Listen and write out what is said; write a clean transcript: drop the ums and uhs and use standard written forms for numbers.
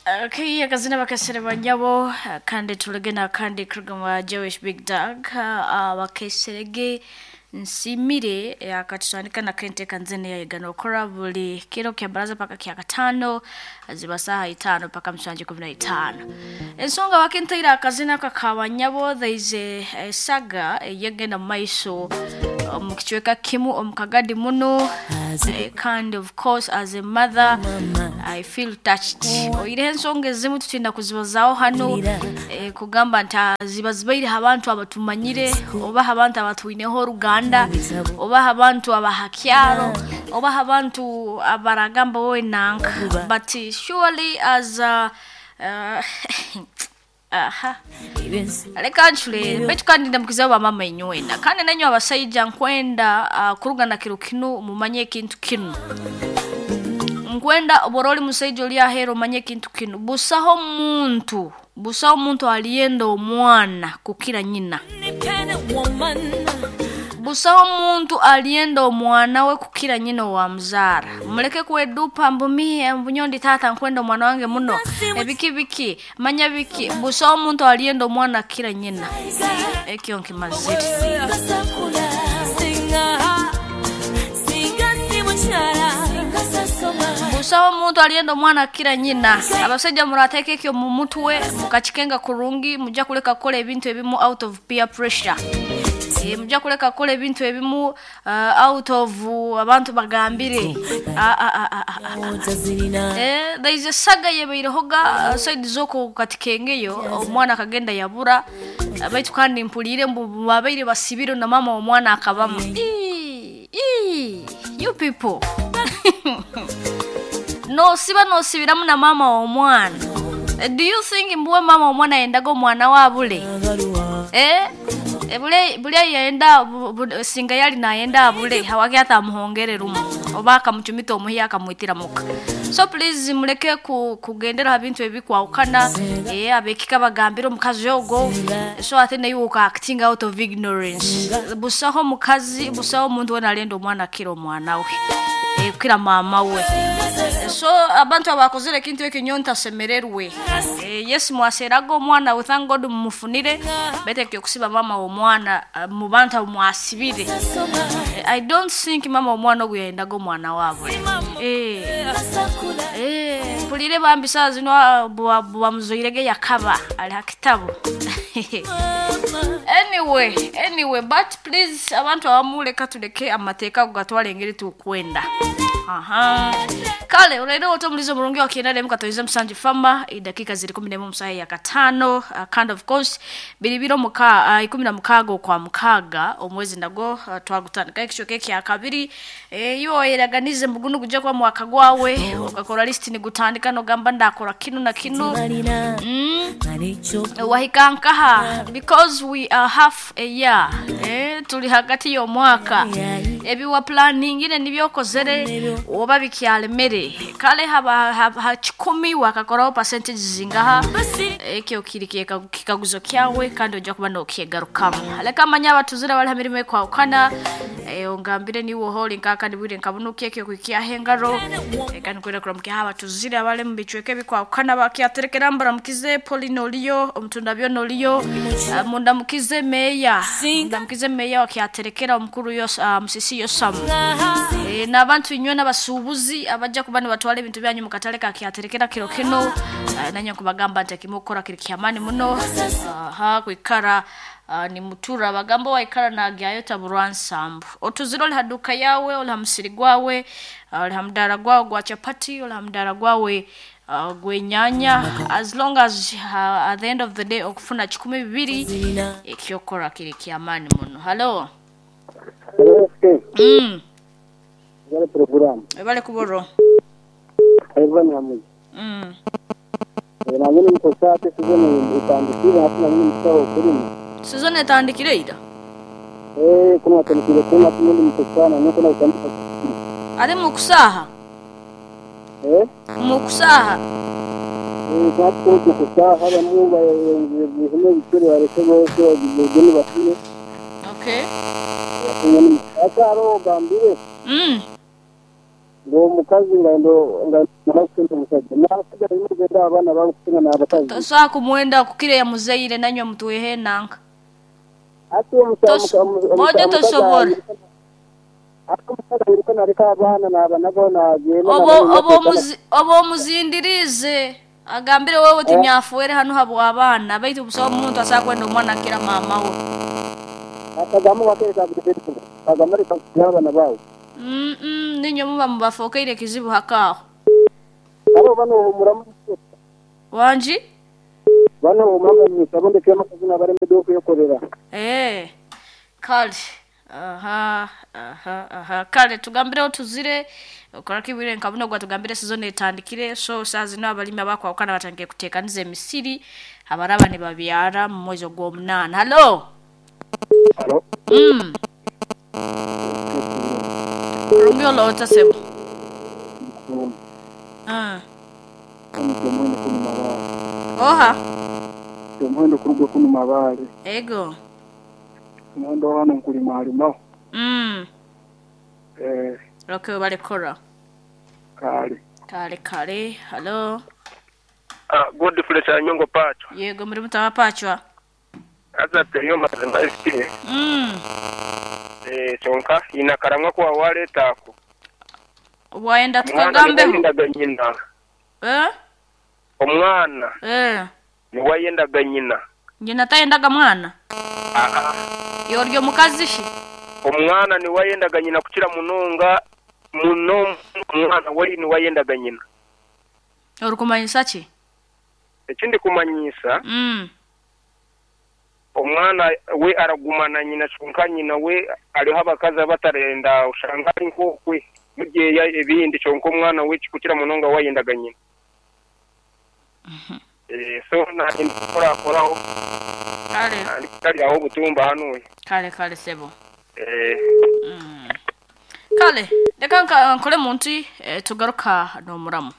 Okay, akazina bakesere banyabo kandi tulege na kandi kuruga Jewish Big Dog bakeserege nsimire akatutandika na kente kanzene yayigana okora buli kiro kya baraza paka kya katano ziba saha itano paka msanje 15. Ensonga wakintaira akazina kakabanyabo, there is a saga eyegenda mu maiso omu kicweka kimu omu kagadi muno, kandi of course as a mother I feel touched. Oireho ensonga ezimu tutinda kuzibazaaho hano, kugamba nti ziba zibaireho abantu abatumanyire oba abantu abatwineho oruganda oba abantu abahakyaro oba abantu abaragamba wowe nanka, but surely as a, aha, reka ncurere baitu kandi ndamukizaho bamama inywena kandi nanywe abasaija nkwenda kuruga na kiro kinu mumanye ekintu kinu. Nkwenda bora oli musaija oli aheera omanye ekintu kinu, busaho muntu aliyenda omwana kukira nyina. Busaho muntu aliyenda omwana we kukira nyina owamuzaara. Muleke kwedupa mbu mihe mbu nyowe ndi taata nkwenda omwana wange muno ebiki biki manya biki. Busaho muntu aliyenda omwana kukira nyina, ekyo nkimazire. Busaho omuntu aliyenda omwana akira nyina. Abasaija murateeka ekyo mu mutwe mukakikenga kurungi, mujja kuleka kukola ebintu ebimu out of peer pressure. Mujja kuleka kukola ebintu ebimu out of abantu bagambire. There is a saga yebairehoga side z'oku katikengeyo, omwana akagenda yabura baitu kandi mpuriire mbu babaire basibire na mama omwana akabamu. You people. Nosiba nosibiramu na mama w'omwana. Do you think mbuwe mama w'omwana yendaga omwana we abule? Bule yenda singa yali nayenda abule hawaki atamuhongere rumu oba akamucumita omuhi akamwitira muka. So please muleke kugendera ha bintu ebikwahukana, abekika bagambira omukazi ogo, so ate naye uka acting out of ignorance. Busaho mukazi, busaho omuntu wena alenda omwana akira omwana we, kukira mama we. So abantu abakozere ekintu ekyo nyowe ntasemererwe. Yes, mwaseraga omwana we, thank God mumufunire, baitu ekyo kusiba mama w'omwana mu bantu abo mwasibire. I don't think mama w'omwana ogu yayendaga omwana waabwe. Mpulire bambi saaha zino bamuzoirege yakaba ali ha kitabu. Anyway, but please abantu abamu leka tuleke amateeka ago gatwale engeri tukwenda. Aha. Kale olero otomulizo omurungi wa kienda lemu katoize musanju fama idakika ziri 11 musaha ya katano, kind of course biri biro muka 16 okwa mukaga omwezi nago twagutandika ekisho keki ya kabiri. Iyo eraganize mugunu kuja kwa mwaka gwawe ukakora list ni gutandika no gamba ndakora kinu na kinu. Wahika nkaha because we are half a year, tuli hagati y'omwaka, ebiwa planning ine nibyokozere oba bikyalemere kale haba ha 10 wakakoraho percentage zingaha, ekyo kiri kikaguzo kyawe kandi ojja kuba nokyegarukamu. Leka manya abatuzira bali ha mirimo ekwahukana, ongambire niwe oholi nkaka nibwire nkabunuki ekyo kwikiaho engaro, kandi nkwenda kuramukiaho abatuzire abali mu bicweka ebikwahukana bakyaterekera mbaramukize Pauline oliyo omutunda byona oliyo, mundamukize meya, mundamukize meya wakyaterekera omukuru Musisi Yosamu, n'abantu inywe n'abasuubuzi abajja kuba nibatwara ebintu byanyu mukatale kakyaterekera kiro kino, nanye nkubagamba nti ekimukukora kiri kyamaani muno. Aha, kwikara ni mutura bagamba waikara nagyayo taburwansambu. Otuzire oli ha duka yawe, oli ha musiri gwawe, oli ha mudara gwawe gwa chapati, oli ha mudara gwawe gwenyanya, as long as at the end of the day okufuna 12 ekyokora kiri kyamaani muno. Hello. Program. Ebale kuboro. Ivan Hamuzi. Nanye nimukosa ate sizoni etandikire hati nanye nimusaho kulima. Sizoni etandikire ira? Kuno atandikire kulima hati nundi mukosa nanye kuna kutandika. Ari mukusaha? Mukusaha? Hati kuno tukusaha bamu bahime ebicuri bareke bose bagende basime. Okay. Ate hariho ogambire. Ngu omukazi nga nga kukira omusajja. N'abasajja balina okwenda abaana baabo kusinga n'abakazi. Tosobola kumwenda kukira eyamuzaire nanywe mutwehe enanka. Hati Bwojo omukazi tosobora. Hati omukazi airuka naleka abaana nabanagaho nagenda. Oba omuzindiriize agambire wewe oti nyafuere hanu habw'abaana baitu busaho omuntu asobola kwenda omwana akira maama we. Akagamu kagamba leka abaana baawe. Ninywe muba mubafokeire ekizibu hakaaho. Abo bano ohumuramu. Wangi? Bano ohumuramu abondeke amakazi n'abalemedde okwekorera. Eh. Kale. Aha, aha, aha. Kale tugambireho tuzire okorako ibwire nka buno gwatugambire season etandikire, so saa zino abalimi abakwawukana batandikire kuteekaniza emisiri abaraba nibabyara mu mwezi ogw'omunaana. Halo. Halo. Kurungi oloota sebo. Oha. Omuhendo kuruga kunu Mabaale. Ego. Omuhendo hano nkulimalimaho. Okay, balekora. Kale. Kale kale. Halo. Godfrey Kyanyongo Pacho. Yego muri mutaba Pachwa. Aza teyo mazima esitire. Kyonka ina karamwa kwa waleta ako. Waenda tukagambeho. Omwana nyina. Omwana. Niwayendaga nyina. Nyina tayendaga mwana? Yoryo mukazi shi? Omwana niwayendaga nyina kukira munonga muno omwana wali niwayendaga nyina. Orikumanyisa ki? Ekindi kumanyisa. Omwana we aragumana nyina kyonka nyina we ariho abakazi abatarenda oshanga ari nk'okwe mugyeya ebindi kyonka omwana we kikukira munonga wayendaga nyina. So nagenda kukorakoraho. Kale. Kali aho obutumba hanu. Kale kale sebo. Kale reka nkore muntu tugaruka n'omuramu.